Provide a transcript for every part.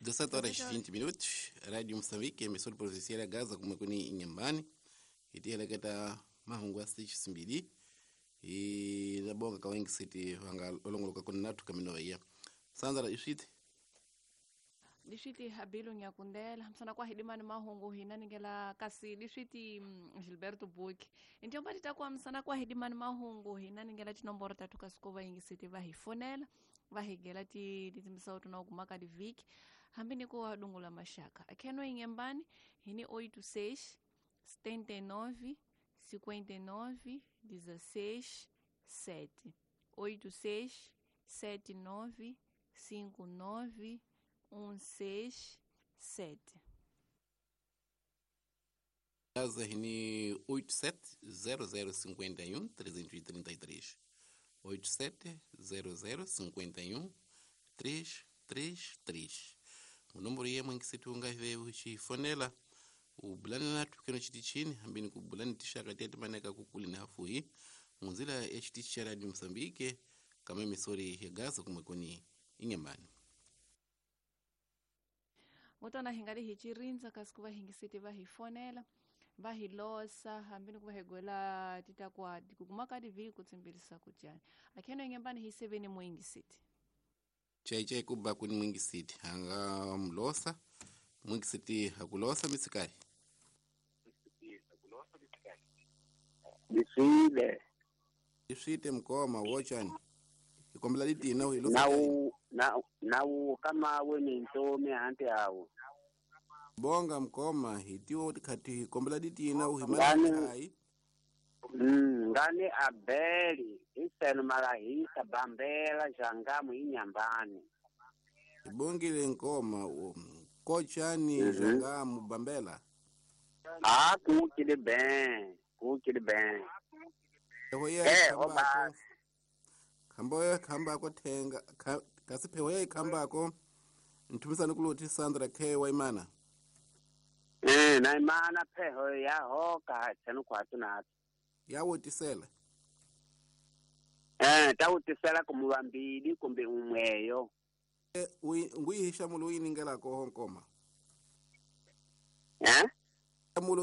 17 horas 20 minutos, Rádio Moçambique, emissora provincial ya Gaza kumwekuni inyambani itiheleketa mahungu ya simbili inabonga kawengi siti vanga olongoloka kuni nathu kaminoiya sanzara iswiti Diswiti Habilu Nyakundela hamsana kwa hidimani mahungu hina ningela kasi diswiti Gilberto Buki injomba titakuwa msana kwa hidimani mahungu hina ningela tinomboro tatu kasuko vaingi siti vahifonela vahigela ti titimisa tunaokumaka diviki hambi niko wadungula mashaka akheno ingembani hini 86 79 59 16 7 86 79 59 16 7. Gaza hini 87 0051 333 87 0051 333 munomboro yemwe nkisitu ungave uchifonela ubulani nathu keno chiti chini hambini kubulani tixaka tete maneka kukuli na hafuhi munzila ya chitichi cha Radio Mozambique kama emisori ya Gaza kumwekoni inyambani. Ngotona hingali hichirindza kasi kuva hingisiti vahifonela vahilosa hambini kuva higwela titakwa kukumaka diviki kutsimbilisa kudyani akheno ingembani hiseveni muingisiti Chai kuba kuni mwingi siti hanga mlosa mwingi siti hakulosa misikari Ndiswile iswite mkoma wochani ikombela litina uhilosa chai. nawu na nawu kama we mintomi hanti awu Bonga mkoma hitiwo khati hikombela ditina uhimala ngani chai ngani abeli iseno malahisa bambela jangamu inyambani. Ibongile nkoma kochani jangamu bambela A kukile ben kukile ben pheho ya eh ikhambako obasi khambo ya khambako thenga kasi pheho ya ikhambako nthumisani kuloti Sandra K waimana na imana pheho ya hoka tseno kwatu nato yawotisela tawutisela kumuvambili kumbe umweyo. Nguyihi nhlamulo u yi ningelaka ho nkoma eh nhlamulo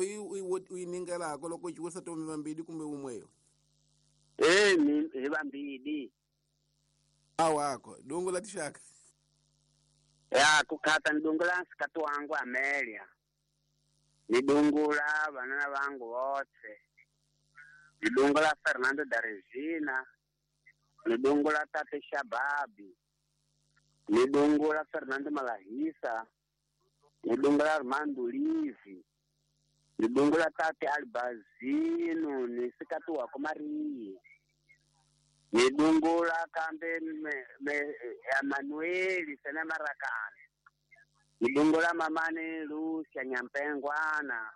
u yi ningelaka loko u ciwisa tomi vambili kumbe umweyo hi vambili awako dungu la tixaka ya kukhata nidungula nsikati wangu Amelia, nidungula vanana vangu votse, nidungula Fernando da Regina, nidungula Tate Shababi, nidungula Fernando Malahisa, nidungula Armando Livi, nidungula Tate Albazino ni sikati wako Maria, nidungula kambe Emanueli sene Marakani, nidungula mamane Lucia Nyampengwana.